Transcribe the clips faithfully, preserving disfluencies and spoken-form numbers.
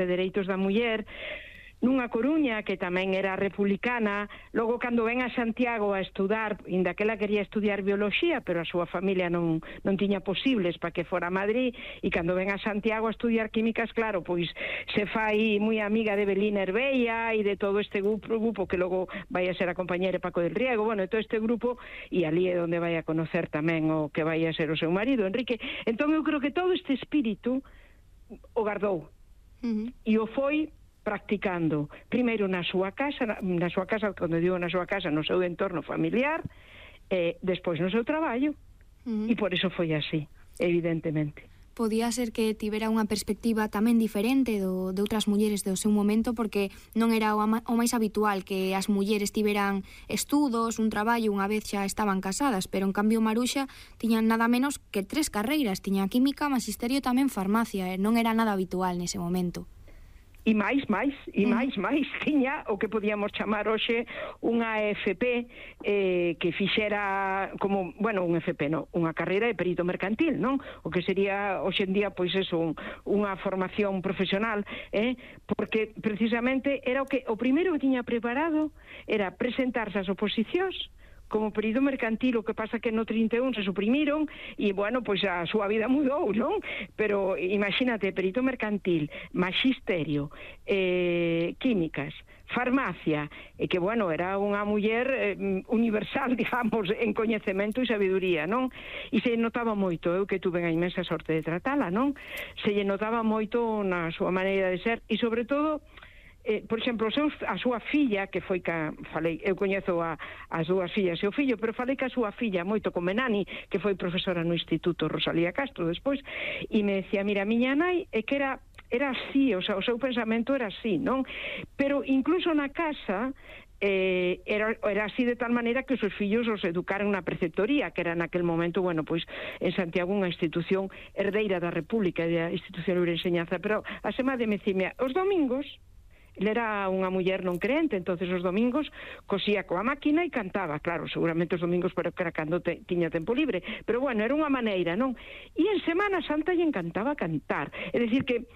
de Dereitos da Muller, nunha Coruña que tamén era republicana. Logo, cando ven a Santiago a estudar, inda que ela quería estudiar biología, pero a súa familia non, non tiña posibles para que fora a Madrid, e cando ven a Santiago a estudiar químicas, claro, pois se fai moi amiga de Belín Herbella e de todo este grupo, grupo que logo vai a ser a compañera Paco del Riego, bueno, todo este grupo, e ali é onde vai a conocer tamén o que vai a ser o seu marido, Enrique. Entón eu creo que todo este espírito o guardou, uh-huh. e o foi practicando, primeiro na súa casa, na, na súa casa, cando digo na súa casa, no seu entorno familiar, e despois no seu traballo, uh-huh. e por iso foi así, evidentemente. Podía ser que tivera unha perspectiva tamén diferente do, de outras mulleres do seu momento, porque non era o, ama, o máis habitual que as mulleres tiveran estudos, un traballo, unha vez xa estaban casadas, pero en cambio Maruxa tiña nada menos que tres carreiras, tiña química, magisterio e tamén farmacia, e non era nada habitual nese momento. E máis, máis, e máis, máis, tiña o que podíamos chamar hoxe unha E F P, eh, que fixera como, bueno, un F P, non, unha carreira de perito mercantil, non? O que sería hoxe en día, pois eso, un, unha formación profesional, eh? Porque precisamente era o que, o primeiro que tiña preparado era presentarse ás oposicións como perito mercantil, o que pasa que no trinta e un se suprimiron e, bueno, pois a súa vida mudou, non? Pero imagínate, perito mercantil, magisterio, eh, químicas, farmacia, e que, bueno, era unha muller eh, universal, digamos, en coñecemento e sabiduría, non? E se notaba moito, eu que tuve a inmensa sorte de tratala, non? Se lle notaba moito na súa maneira de ser, e sobre todo, Eh, por exemplo, seus, a súa filla, que foi ca, falei, eu coñezo a, as dúas fillas e o fillo, pero falei que a súa filla moito con Menani, que foi profesora no Instituto Rosalía Castro despois, e me decía, mira, miña nai é que era era así, o sea, o seu pensamento era así, non? Pero incluso na casa eh, era, era así de tal maneira que os seus fillos os educaron na preceptoría, que era naquel momento, bueno, pois en Santiago unha institución herdeira da República, da institución de enseñanza, pero a semana de me dicía, os domingos ele era unha muller non creente, entonces os domingos cosía coa máquina e cantaba, claro, seguramente os domingos, pero que era cando te, tiña tempo libre, pero bueno, era unha maneira, non? E en Semana Santa lle encantaba cantar, é dicir que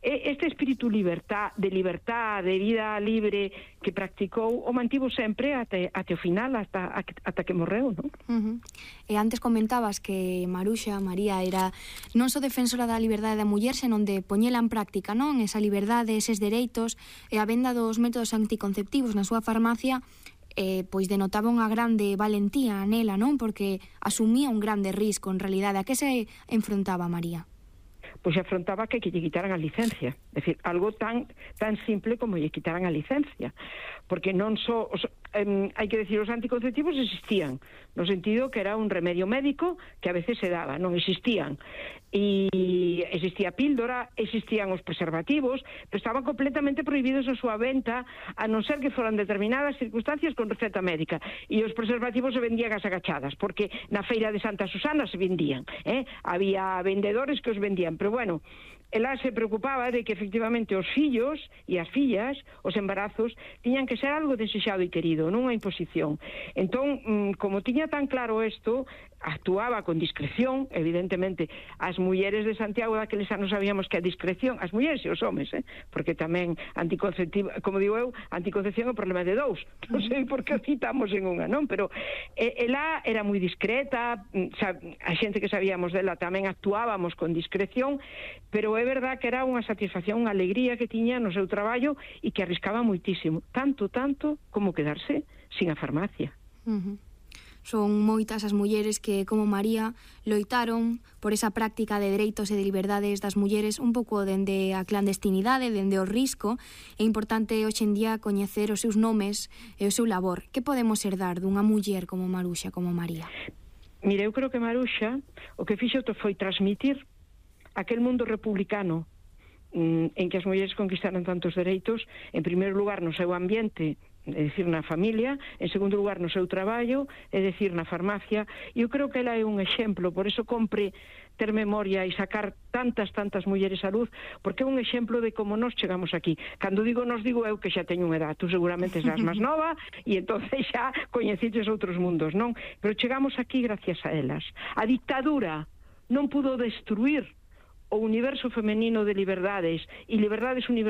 este espírito libertad, de libertad, de vida libre que practicou, o mantivo sempre até, até o final, ata, ata que morreu, non? Uh-huh. E antes comentabas que Maruxa, María, era non só defensora da liberdade da muller, senón de poñela en práctica, non? Esa liberdade, eses dereitos, e a venda dos métodos anticonceptivos na súa farmacia, eh, pois denotaba unha grande valentía nela, non? Porque asumía un grande risco, en realidade. A que se enfrontaba María? Pois afrontaba que, que lle quitaran a licencia, é dicir, algo tan tan simple como lle quitaran a licencia, porque non só, os, eh, hai que decir, os anticonceptivos existían, no sentido que era un remedio médico que a veces se daba, non existían, e existía píldora, existían os preservativos, pero estaban completamente prohibidos a súa venta, a non ser que foran determinadas circunstancias con receta médica, e os preservativos se vendían as agachadas, porque na feira de Santa Susana se vendían, eh? Había vendedores que os vendían, pero bueno, ela se preocupaba de que efectivamente os fillos e as fillas, os embarazos, tiñan que ser algo desexado e querido, non unha imposición. Entón, como tiña tan claro isto, actuaba con discreción, evidentemente. As mulleres de Santiago daqueles anos sabíamos que a discreción, as mulleres e os homes, eh? Porque tamén anticonceptivo, como digo eu, anticoncepción é un problema de dous, non sei por que o citamos en unha, non? Pero eh, ela era moi discreta, a xente que sabíamos dela tamén actuábamos con discreción, pero é verdad que era unha satisfacción, unha alegría que tiña no seu traballo e que arriscaba moitísimo, tanto, tanto como quedarse sin a farmacia. Uh-huh. Son moitas as mulleres que, como María, loitaron por esa práctica de dereitos e de liberdades das mulleres un pouco dende a clandestinidade, dende o risco. É importante hoxe en día coñecer os seus nomes e o seu labor. Que podemos herdar dunha muller como Maruxa, como María? Mire, eu creo que Maruxa o que fixo foi transmitir aquel mundo republicano en que as mulleres conquistaran tantos dereitos, en primeiro lugar no seu ambiente, é dicir, na familia, en segundo lugar no seu traballo, é dicir, na farmacia, e eu creo que ela é un exemplo, por eso compre ter memoria e sacar tantas, tantas mulleres á luz, porque é un exemplo de como nós chegamos aquí. Cando digo nos digo eu que xa teño unha edad, tú seguramente serás máis nova, e entonces xa coñeciches outros mundos, non? Pero chegamos aquí gracias a elas. A dictadura non pudo destruir o universo femenino de liberdades e liberdades universales